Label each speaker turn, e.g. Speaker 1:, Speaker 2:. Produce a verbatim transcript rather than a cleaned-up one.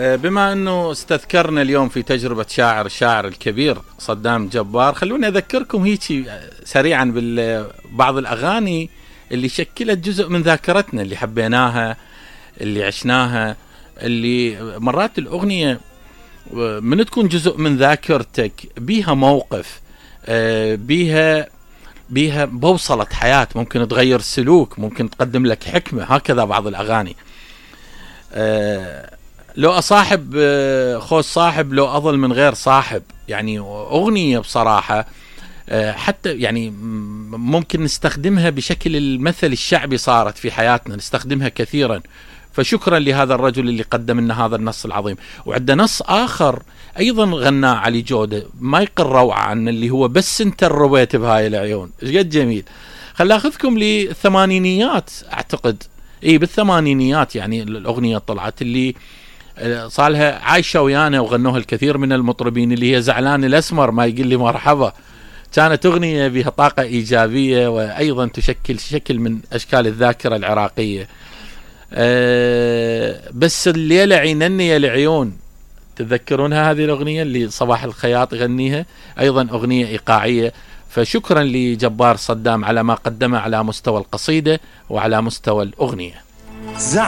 Speaker 1: بما أنه استذكرنا اليوم في تجربة شاعر الشاعر الكبير صدام جبار، خلوني أذكركم هيك سريعا ببعض الأغاني اللي شكلت جزء من ذاكرتنا، اللي حبيناها، اللي عشناها، اللي مرات الأغنية من تكون جزء من ذاكرتك بيها موقف، بيها بيها بوصلة حياة، ممكن تغير سلوك، ممكن تقدم لك حكمة. هكذا بعض الأغاني. لو أصاحب خوش صاحب، لو أظل من غير صاحب، يعني أغنية بصراحة حتى يعني ممكن نستخدمها بشكل المثل الشعبي، صارت في حياتنا نستخدمها كثيرا. فشكرا لهذا الرجل اللي قدم لنا هذا النص العظيم. وعندنا نص آخر أيضا غناه علي جودة ما يقل روعة عن اللي هو بس انت الرويت بهاي العيون. ايش قد جميل. خل أخذكم للثمانينيات، أعتقد اي بالثمانينيات يعني الأغنية طلعت، اللي صالها عايشة ويانا وغنوها الكثير من المطربين، اللي هي زعلان الأسمر ما يقول لي مرحبا. كانت أغنية بها طاقة إيجابية، وأيضا تشكل شكل من أشكال الذاكرة العراقية. أه بس الليلة عينني يا العيون، تذكرونها هذه الأغنية اللي صباح الخياط يغنيها، أيضا أغنية إيقاعية. فشكرا لجبار صدام على ما قدمه على مستوى القصيدة وعلى مستوى الأغنية.